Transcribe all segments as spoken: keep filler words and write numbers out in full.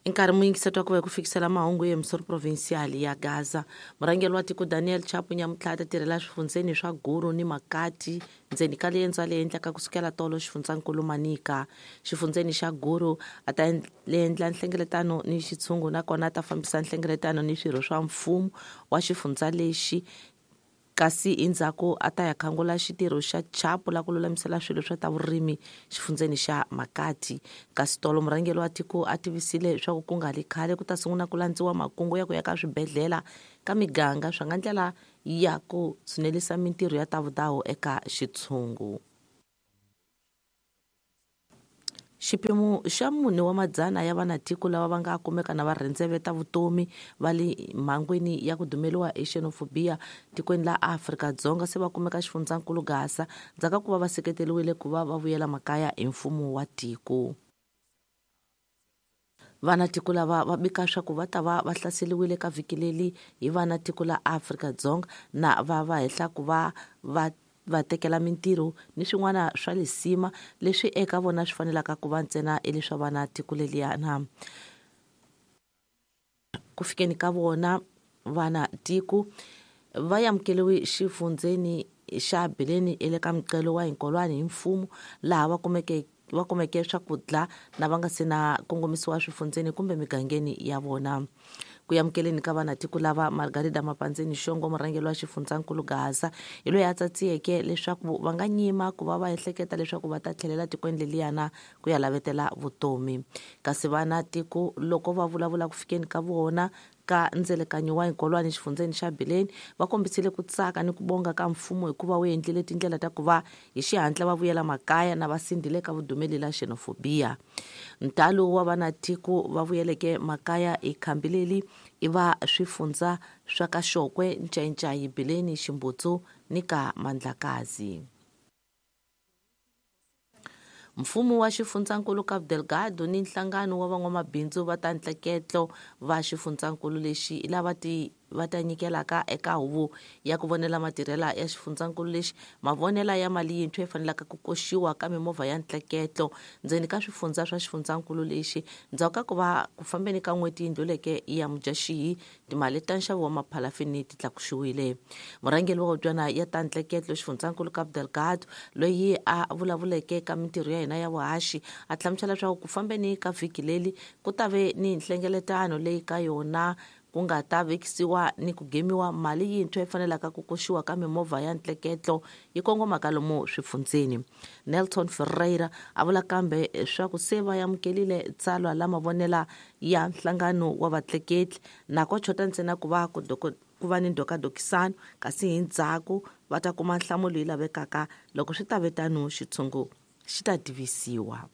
Nkarhi muyingiseti wa ku va ku fikisela mahungu ya emisoro provincial ya Gaza. Murhangeri wa tiko Daniel Chapo nyamutlha ta tirhela swifundzeni swa Guru ni Makati ndzeni ka liendzo a le endlaka kusukela tolo xifundzankulu Manika. Xifundzeni xa Guru a ta endla nhlengeletano ni xitshungu nakona a ta fambisa nhlengeletano ni swirho swa mfumo wa xifundza lexi, kasi endzhaku a ta ya khangula xitirho xa Chapo la ku lulamisela swilo swa ta vurimi xifundzeni xa Makati. Kasi tolo murhangeri wa tiko a tivisile leswaku ku nga li khale ku ta sungula ku landziwa makungu ya ku ya ka swibedhlele ka miganga swa nga ndlela ya ku tshunelisa mintirho ya ta vudawu eka xitshungu. Xipimo xa mune wa madzana ya vanatiko lava va nga kumeka na va rhendzeveta vutomi va le mhangwini ya ku dumeliwa hi xenophobia tikweni la Afrika-Dzonga se va kumeka xifundzankulu Gaza ndzhaku ka ku va va seketeriwile ku va va vuyela makaya hi mfumo wa tiko. Vanatiko lava va bika swa ku va ta va va hlaseriwile ka vhiki leri hi vanatiko la Afrika-Dzonga na va va hehla ku va va va tekela mintirho ni swin'wana swa lisima leswi eka vona swi fanelaka ku va ntsena leswa vana tiko leliyana. Ku fikeni ka vona vana tiko va amukeriwe xifundzeni xa Bileni ele ka mqelo wa Hinkolwani hi mfumo laha va kumeke va kumeke swakudya na va nga se na kongomisiwa swifundzeni kumbe migangeni ya vona. Ku amukeleni ka vanatiko lava Margarida Mapandzeni Xongo murhangeri wa xifundzankulu Gaza hi loyi a tsatsiyeke leswaku va nga nyima ku va va ehleketa leswaku va ta tlhelela tikweni leliyana ku ya lavetela vutomi. Kasi vanatiko loko va vulavula ku fikeni ka vona ka ndzelekanyo wa Hinkolwani xifundzeni xa Bileni va kombisile ku tsaka ni ku bonga ka mfumo hikuva wu endlile tindlela ta ku va hi xihatla va vuyela makaya na va sindzile ka vudumeli la xenophobia. Ntalo wa vanatiko va vuyeleke makaya hi khambi leri i va swifundza swa ka Xokwe, Ncayincai, Bileni, Ximbutsu ni ka Mandlakazi. Mfumo wa xifundzankulu Cabo Delgado ni nhlangano wa van'wamabindzu va ta ntleketlo va xifundzankulu lexi lava ti va ta nyikelaka eka huvo ya ku vonela matirhela ya xifundzankulu lexi mavonela ya mali yintshwa yi fanelaka ku koxiwa ka mimovha ya ntleketlo ndzeni ka swifundza swa xifundzankulu lexi ndzhaku ka ku va ku fambeni ka n'hweti yi ndluleke ya Mudyaxihi timali ta nxavo wa maphalafini ti tlakusiwile. Murhangeri wa hubyana ya ta ntleketlo xifundzankulu Cabo Delgado loyi a vulavuleke ka mintirho ya hina ya vuhaxi a hlamusela leswaku ku fambeni ka vhiki leri ku ta ve ni nhlengeletano leyi ka yona ku nga ta vekisiwa ni ku gemiwa mali yintshwa yi fanelaka ku koxiwa ka mimovha ya ntleketlo yi kongomaka lomu swifundzeni. Nelson Ferreira a vula kambe swa ku se va amukelile tsalwa la mavonela ya nhlangano wa vatleketli na ko chota ntsena ku va ku ku va ni ndokadokisano kasi hi ndzhaku va ta kuma nhlamulo yi lavekaka loko swi ta ve tano xitshungu xi ta tivisiwa.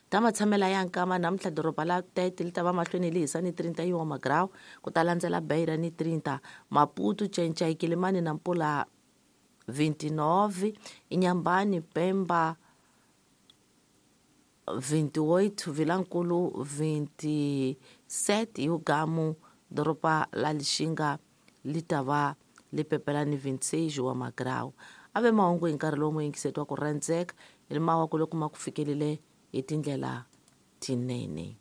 Ta matshamela ya nkama namuntlha doroba la Tete li ta va mahlweni li hisa ni trinta wa magrawu ku ta landzela Beira ni trinta, Maputo, Ncayincai, Kilimani na Mpula vinte e nove, Inhambane, Pemba vinte e oito, Vilankulu vinte e sete, Yugamu doroba la Lixinga li ta va li pepela ni vinte e seis wa magrawu. A ve mahungu hi nkarhi lowu muyingiseti wa ku rhandzeka hi mawaku loko ma ku fikelile hi tindlela tinene.